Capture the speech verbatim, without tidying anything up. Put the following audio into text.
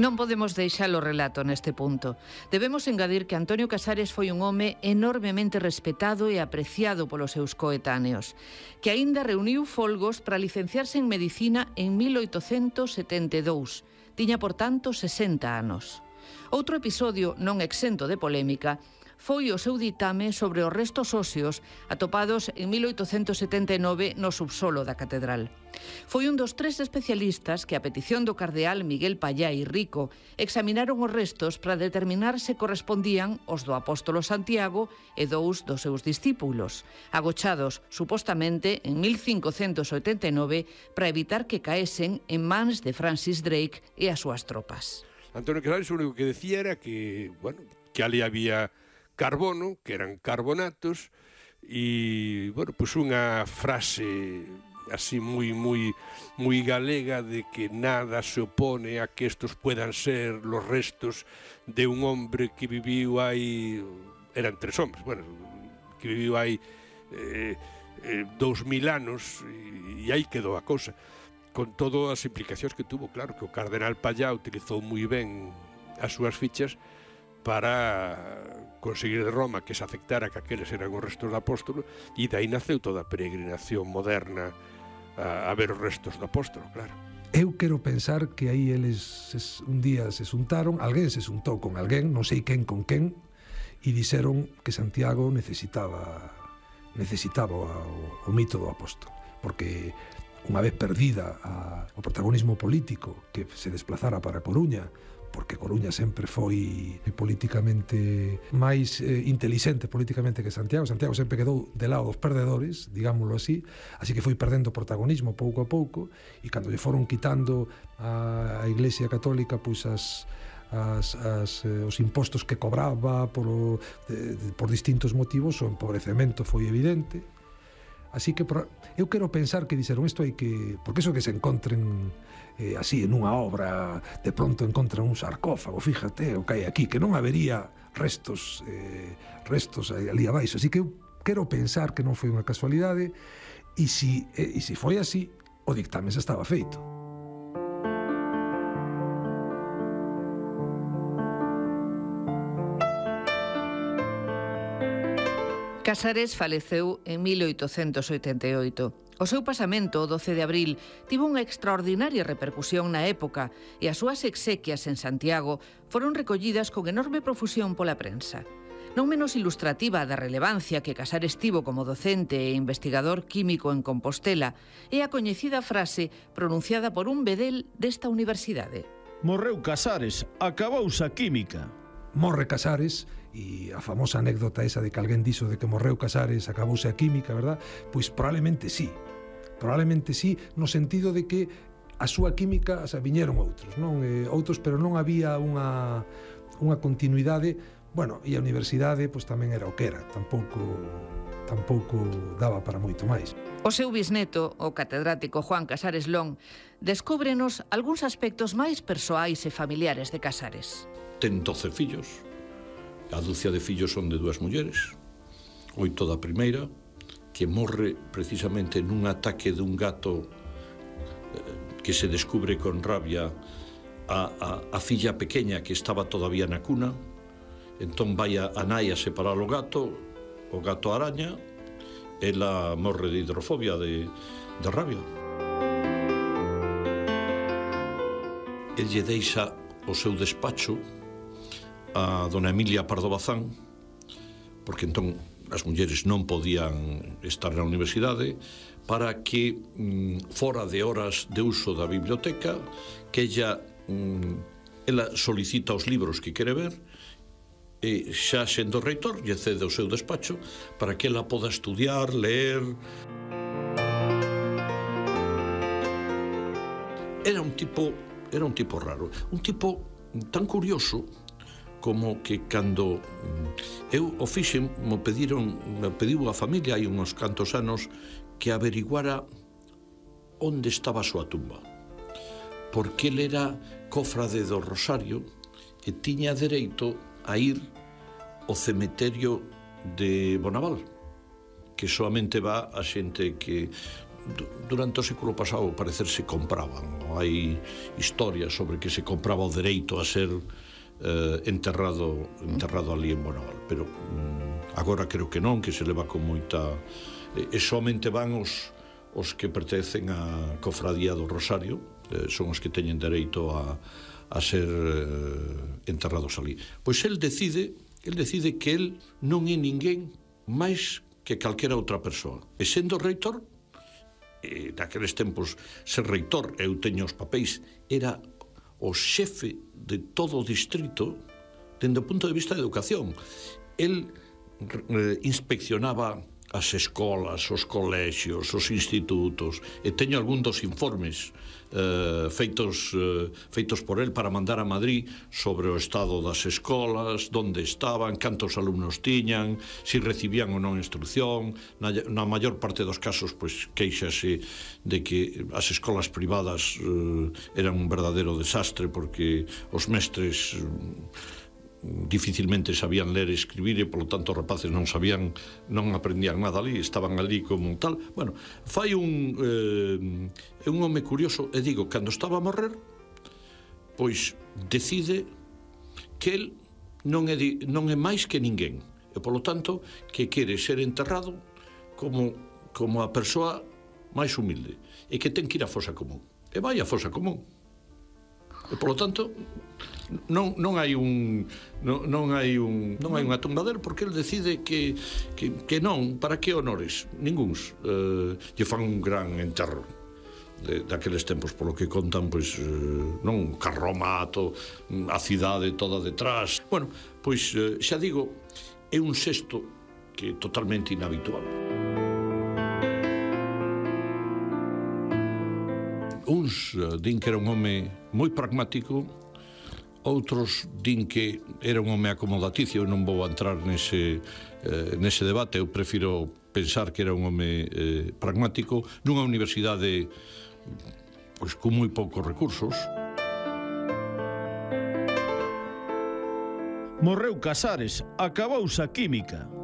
Non podemos deixar o relato neste punto. Debemos engadir que Antonio Casares foi un home enormemente respetado e apreciado polos seus coetáneos, que aínda reuniu folgos para licenciarse en Medicina en mil oitocentos setenta e dous. Tiña, por tanto, sesenta anos. Outro episodio non exento de polémica foi o seu ditame sobre os restos óseos atopados en mil oitocentos setenta e nove no subsolo da catedral. Foi un dos tres especialistas que, a petición do cardeal Miguel Pallá y Rico, examinaron os restos para determinar se correspondían aos do apóstolo Santiago e dous dos seus discípulos, agochados, supostamente, en mil cincocentos oitenta e nove para evitar que caesen en mans de Francis Drake e as súas tropas. Antonio Casares o único que decía era que, bueno, que ali había carbono, que eran carbonatos, e, bueno, pues unha frase así moi, moi, moi galega de que nada se opone a que estos puedan ser los restos de un hombre que viviu hai, eran tres hombres, bueno, que viviu hai eh, eh, dous mil anos, e, e aí quedou a cousa, con todas as implicacións que tuvo. Claro que o cardenal Pallá utilizou moi ben as súas fichas para conseguir de Roma que se aceptara que aqueles eran os restos do apóstolo, e dai naceu toda a peregrinación moderna a, a ver os restos do apóstolo, claro. Eu quero pensar que aí eles ses, un día se xuntaron, alguén se xuntou con alguén, non sei quen con quen, e dixeron que Santiago necesitaba necesitaba o, o mito do apóstolo, porque unha vez perdida a, o protagonismo político que se desplazara para Coruña, porque Coruña sempre foi políticamente máis eh, intelixente políticamente que Santiago. Santiago sempre quedou de lado dos perdedores, digámoslo así, así que foi perdendo protagonismo pouco a pouco, e cando lle foron quitando a, a Iglesia Católica pois as As, as, eh, os impostos que cobraba por, o, de, de, por distintos motivos, o empobrecemento foi evidente. Así que por, eu quero pensar que dixeron isto hai que... Porque iso que se encontren eh, así en unha obra, de pronto encontran un sarcófago, fíjate o que hai aquí, que non habería restos eh, restos ali abaixo. Así que eu quero pensar que non foi unha casualidade, e si, eh, e si foi así, o dictamen xa estaba feito. Casares faleceu en mil oitocentos oitenta e oito. O seu pasamento, o doce de abril, tivo unha extraordinaria repercusión na época, e as súas exequias en Santiago foron recollidas con enorme profusión pola prensa. Non menos ilustrativa da relevancia que Casares tivo como docente e investigador químico en Compostela é a coñecida frase pronunciada por un bedel desta universidade. Morreu Casares, acabouse a química. Morre Casares, e a famosa anécdota esa de que alguén dixo de que morreu Casares, acabouse a química, verdad? Pois probablemente sí, probablemente sí, no sentido de que a súa química, o sea, viñeron outros, non? Eh, outros, pero non había unha, unha continuidade, bueno, e a universidade pois tamén era o que era, tampouco, tampouco daba para moito máis. O seu bisneto, o catedrático Juan Casares Lón, descúbrenos algúns aspectos máis persoais e familiares de Casares. Ten doce fillos, a dúcia de fillos son de dúas mulleres, oito da primeira, que morre precisamente nun ataque dun gato eh, que se descubre con rabia a, a, a filla pequeña que estaba todavía na cuna, entón vai a, a nai a separar o gato, o gato araña, ela morre de hidrofobia, de, de rabia. El lle deixa o seu despacho a dona Emilia Pardo Bazán, porque entón as mulleres non podían estar na universidade, para que mm, fora de horas de uso da biblioteca, que ella mm, ela solicita os libros que quere ver, e xa sendo reitor lle cede o seu despacho para que ela poda estudiar, ler. Era un tipo era un tipo raro, un tipo tan curioso como que cando eu o fixen, me pediron, me pediu a familia hai uns cantos anos que averiguara onde estaba a súa tumba, porque ele era cofrade do Rosario e tiña dereito a ir ao cemiterio de Bonaval, que solamente va a xente que durante o século pasado parecer se compraban. Hai historias sobre que se compraba o dereito a ser eh, enterrado enterrado ali en Bonaval, pero mm, agora creo que non, que se leva con moita... E somente van os, os que pertencen á Cofradía do Rosario, eh, son os que teñen dereito a, a ser eh, enterrados ali. Pois el decide, el decide que el non é ninguén máis que calquera outra persoa. E sendo reitor, e naqueles tempos ser reitor, eu teño os papéis, era o xefe de todo o distrito dende o punto de vista de educación. El eh, inspeccionaba as escolas, os colexios, os institutos, e teño algún dos informes eh, feitos, eh, feitos por el para mandar a Madrid sobre o estado das escolas, onde estaban, cantos alumnos tiñan, si recibían ou non instrucción. Na, na maior parte dos casos, pois, queixase de que as escolas privadas eh, eran un verdadero desastre, porque os mestres eh, dificilmente sabían ler e escribir, e polo tanto os rapaces non sabían, non aprendían nada ali, estaban ali como tal. Bueno, fai un eh, un home curioso, e digo, cando estaba a morrer, pois decide que el non é, di, non é máis que ninguén, e polo tanto que quere ser enterrado como, como a persoa máis humilde, e que ten que ir á fosa común, e vai á fosa común. E polo tanto non non hai un non, non hai un non hai unha tumba del, porque el decide que que que non, para que honores ninguns. Eh, lle fan un gran enterro de daqueles tempos, polo que contan, pois eh, non carromato, a cidade toda detrás. Bueno, pois eh, xa digo, é un xesto que é totalmente inhabitual. Uns din que era un home moi pragmático, outros din que era un home acomodaticio. Eu non vou entrar nese, eh, nese debate. Eu prefiro pensar que era un home eh, pragmático nunha universidade pois, con moi poucos recursos. Morreu Casares, acabouse a química.